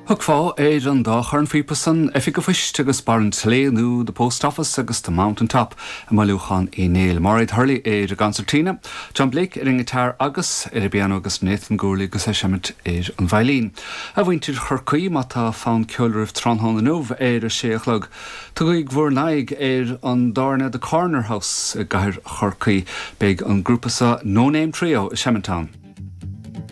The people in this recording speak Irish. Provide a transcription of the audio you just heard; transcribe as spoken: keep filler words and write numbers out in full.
Thiocfá ar an dá chornphíopa san Oifig an Phoist agus Barr an tSlé nó The Post Office agus The Mountain Top i mbailiúchán Uí Néill. Mairéad Hurley ar an gconsairtín, John Blake ar an ngiotár agus ar an bpianó agus Nathan Gourley agus é ag seimint ar an veidhlín. A mhuintir Chorcaí má tá fonn ceoil oraibh tráthnóna inniu ar a sé a chlog. Tugaigí bhur n-aghaidh ar an dtábhairne The Corner House i gcathair Chorcaí. Beidh an grúpa seo No Name Trio ag seimint ann.